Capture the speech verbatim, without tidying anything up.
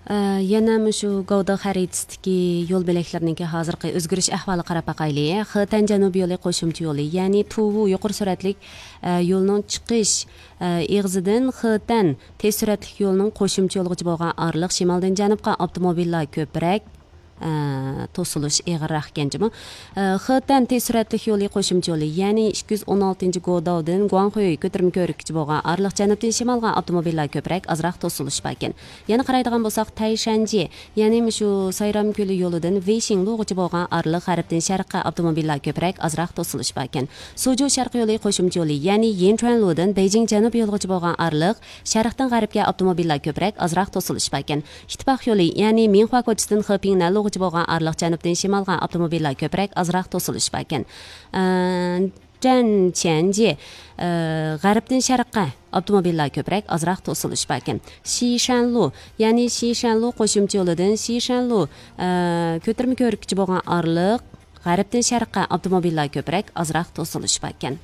ئە، يەنە مۇشۇ گودا خەرىتىسىدىكى يول بۆلەكلىرىنىڭكى ھازىرقى ئۆزگىرىش ئەھۋالىغا قاراپ باقايلى. خېتەن جەنۇبىي يولى قوشۇمچە يولى، يەنى تۇۋۇ يۇقىرى سۈرئەتلىك، ئە، يولنىڭ چىقىش، ئە، ئېغىزىدىن خېتەن تېز سۈرئەتلىك يولىنىڭ قوشۇمچە يولىغىچە بولغان ئارىلىق شىمالدىن جەنۇبقا ئاپتوموبىللار كۆپرەك، ئە، توسۇلۇش ئېغىرراق ئىكەن جۇمۇ. ئە، خېتەن تېز سۈرئەتلىك يولى قوشۇمچە يولى، يەنى ئىككى يۈز ئون ئالتىنچى گوداۋدىن گۇاڭخۇي كۆتۈرمە كۆۋرۈككىچە بولغان ئارىلىق جەنۇبتىن شىمالغا ئاپتوموبىللار كۆپرەك، ئازراق توسۇلۇش باركەن. يەنە قارايدىغان بولساق، تەيشەنجى، يەنى مۇشۇ سايرام كۆلى يولىدىن ۋېيشىڭلۇغىچە بولغان ئارىلىق غەربتىن شەرققە ئاپتوموبىللار كۆپرەك، ئازراق توسۇلۇش باركەن. سۇجۇ شەرقىي يولى قوشۇمچە يولى، يەنى يىنچۈەنلۇدىن بېيجىڭ جەنۇب يولىغىچە بولغان ئارىلىق شەرقتىن غەربكە ئاپتوموبىللار كۆپرەك، ئازراق توسۇلۇش باركەن. ئىتتىپاق يولى، يەنى مىڭخۇا كوچىسىدىن خېپىڭنەنلۇغىچە بولغان ئارىلىق جەنۇبتىن شىمالغا ئاپتوموبىللار كۆپرەك، ئازراق توسۇلۇش باركەن. ئە، جەنچەنجى، ئە، غەربتىن شەرققە ئاپتوموبىللار كۆپرەك، ئازراق توسۇلۇش باركەن. شىشەنلۇ، يەنى شىشەنلۇ قوشۇمچە يولىدىن شىشەنلۇ، ئە، كۆتۈرمە كۆۋرۈككىچە بولغان ئارىلىق غەربتىن شەرققە ئاپتوموبىللار كۆپرەك، ئازراق توسۇلۇش باركەن.